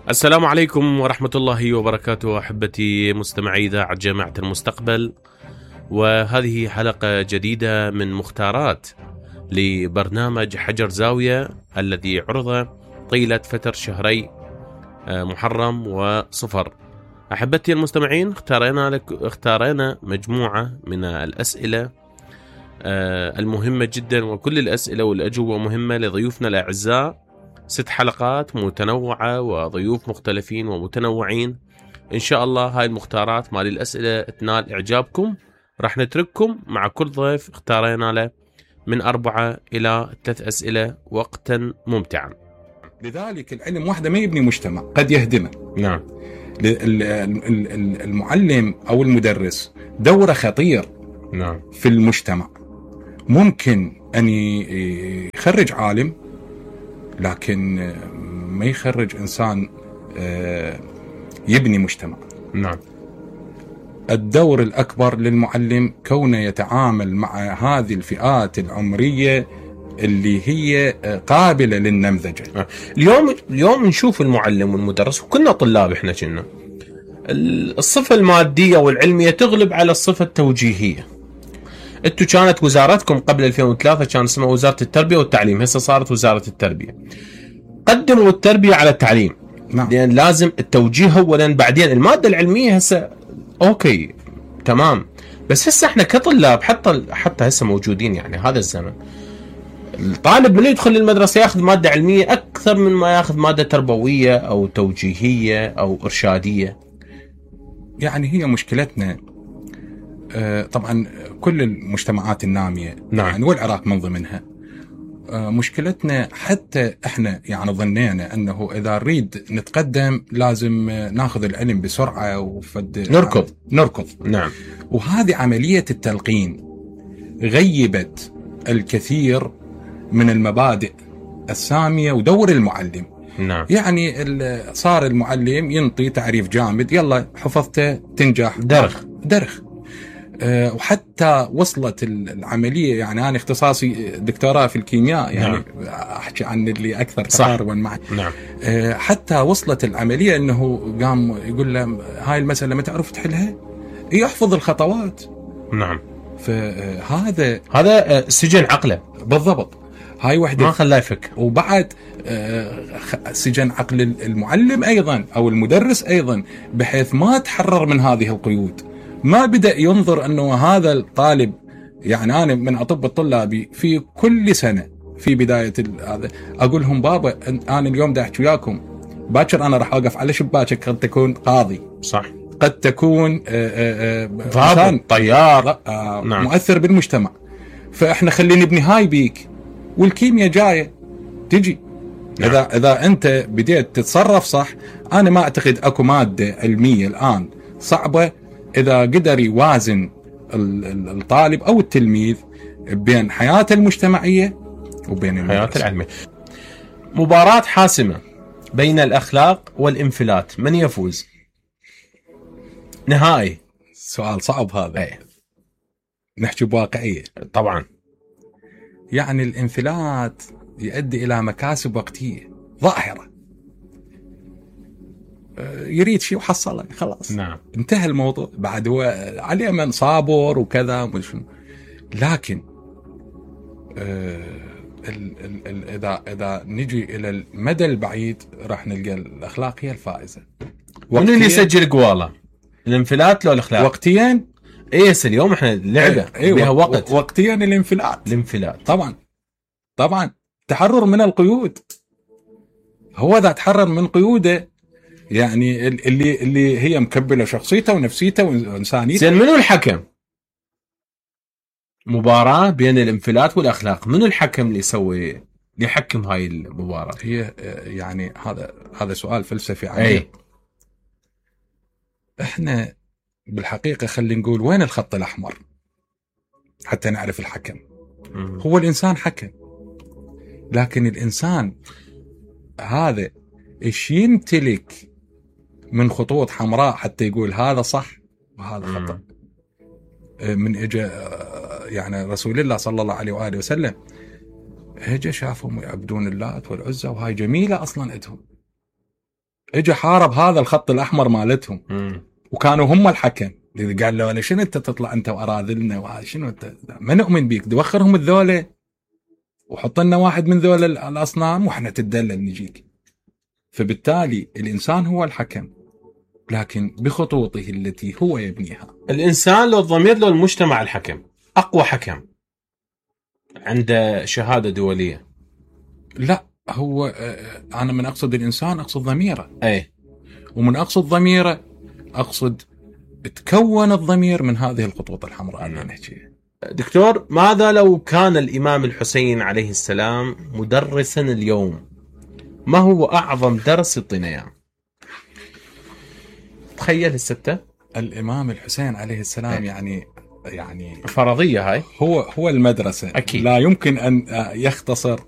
السلام عليكم ورحمة الله وبركاته أحبتي مستمعي إذاعة جامعة المستقبل، وهذه حلقة جديدة من مختارات لبرنامج حجر زاوية الذي عرض طيلة فترة شهري محرم وصفر. أحبتي المستمعين، اختارينا مجموعة من الأسئلة المهمة جدا، وكل الأسئلة والأجوبة مهمة لضيوفنا الأعزاء. 6 حلقات متنوعة وضيوف مختلفين ومتنوعين. إن شاء الله هاي المختارات مال الأسئلة تنال إعجابكم. راح نترككم مع كل ضيف اختارينا له من 4 إلى 3 أسئلة وقتا ممتعا. لذلك العلم وحده ما يبني مجتمع، قد يهدمه. نعم. المعلم أو المدرس دوره خطير. نعم. في المجتمع ممكن أن يخرج عالم، لكن ما يخرج إنسان يبني مجتمع. نعم. الدور الأكبر للمعلم كونه يتعامل مع هذه الفئات العمرية اللي هي قابلة للنمذجة. اليوم نشوف المعلم والمدرس، وكنا طلاب احنا كنا الصفة المادية والعلمية تغلب على الصفة التوجيهية. انتو كانت وزارتكم قبل 2003 كان اسمها وزارة التربية والتعليم، هسه صارت وزارة التربية. قدموا التربية على التعليم. نعم. لأن لازم التوجيه أولا، بعدين المادة العلمية. هسه اوكي تمام، بس هسه احنا كطلاب حتى هسه موجودين، يعني هذا الزمن الطالب من يدخل للمدرسة ياخذ مادة علمية أكثر من ما ياخذ مادة تربوية أو توجيهية أو إرشادية. يعني هي مشكلتنا طبعا كل المجتمعات النامية. نعم. يعني والعراق من ضمنها. مشكلتنا حتى احنا يعني ظنينا انه اذا نريد نتقدم لازم ناخذ العلم بسرعة نركض. نعم. وهذه عملية التلقين غيبت الكثير من المبادئ السامية ودور المعلم. نعم. يعني صار المعلم ينطي تعريف جامد، يلا حفظته تنجح، درخ. وحتى وصلت العملية، يعني أنا اختصاصي دكتوراه في الكيمياء، يعني نعم. أحكي عن اللي أكثر تقاربا معي. نعم. حتى وصلت العملية أنه قام يقول له هاي المسألة ما تعرف تحلها، يحفظ الخطوات. نعم. هذا سجن عقله بالضبط. هاي وحدة ما خلاه يفك. وبعد سجن عقل المعلم أيضا أو المدرس أيضا، بحيث ما تحرر من هذه القيود. ما بدأ ينظر أنه هذا الطالب، يعني أنا من أطب طلابي في كل سنة في بداية هذا أقول لهم بابا أنا اليوم دا أحكي وياكم، باكر أنا راح أوقف على شباكك، قد تكون قاضي، صح، قد تكون ضابط، طيار، نعم. مؤثر بالمجتمع. فإحنا خلينا نبني هاي بيك، والكيمياء جاية تجي. نعم. إذا أنت بديت تتصرف صح، أنا ما أعتقد أكو مادة علمية الآن صعبة إذا قدر يوازن الطالب أو التلميذ بين حياته المجتمعية وبين حياته العلمية. مباراة حاسمة بين الأخلاق والانفلات، من يفوز؟ نهائي. سؤال صعب هذا. أي. نحكي بواقعية طبعا. يعني الانفلات يؤدي إلى مكاسب وقتية ظاهرة، يريد شيء وحصله خلاص. نعم. انتهى الموضوع. بعد هو عليه من صابر وكذا. لكن إذا نجي إلى المدى البعيد راح نلقى الأخلاق هي الفائزة. من اللي يسجل قواله؟ الانفلات لو الأخلاق؟ وقتيا. إيه اليوم إحنا لعبة بها وقت. وقتيا الانفلات. طبعا تحرر من القيود. هو إذا تحرر من قيوده، يعني اللي هي مكبلة شخصيته ونفسيته وإنسانيته. زين، منو الحكم؟ مباراة بين الانفلات والأخلاق، منو الحكم اللي يحكم هاي المباراة؟ هي يعني هذا سؤال فلسفي عميق. احنا بالحقيقة خلينا نقول وين الخط الأحمر حتى نعرف الحكم. هو الإنسان حكم، لكن الإنسان هذا إيش يمتلك من خطوط حمراء حتى يقول هذا صح وهذا خطأ. من اجى يعني رسول الله صلى الله عليه وآله وسلم اجى شافهم يعبدون اللات والعزى، وهاي جميلة أصلا عندهم، اجى حارب هذا الخط الاحمر مالتهم، وكانوا هم الحكم. قال له شنو انت تطلع انت واراذلنا وهذا شنو انت، ما نؤمن بيك، دوخرهم الذوله وحط لنا واحد من ذول الاصنام واحنا تدلل نجيك. فبالتالي الانسان هو الحكم، لكن بخطوطه التي هو يبنيها. الانسان لو الضمير لو المجتمع الحكم، اقوى حكم عنده شهاده دوليه. لا، هو انا من اقصد الانسان اقصد ضميره. اي، ومن اقصد ضميره اقصد تكون الضمير من هذه الخطوط الحمراء اللي نحكيها. دكتور، ماذا لو كان الامام الحسين عليه السلام مدرسا اليوم؟ ما هو اعظم درس يعطينا اياه؟ تخيل الستة الامام الحسين عليه السلام يعني فرضيه هاي، هو المدرسه. أكيد. لا يمكن ان يختصر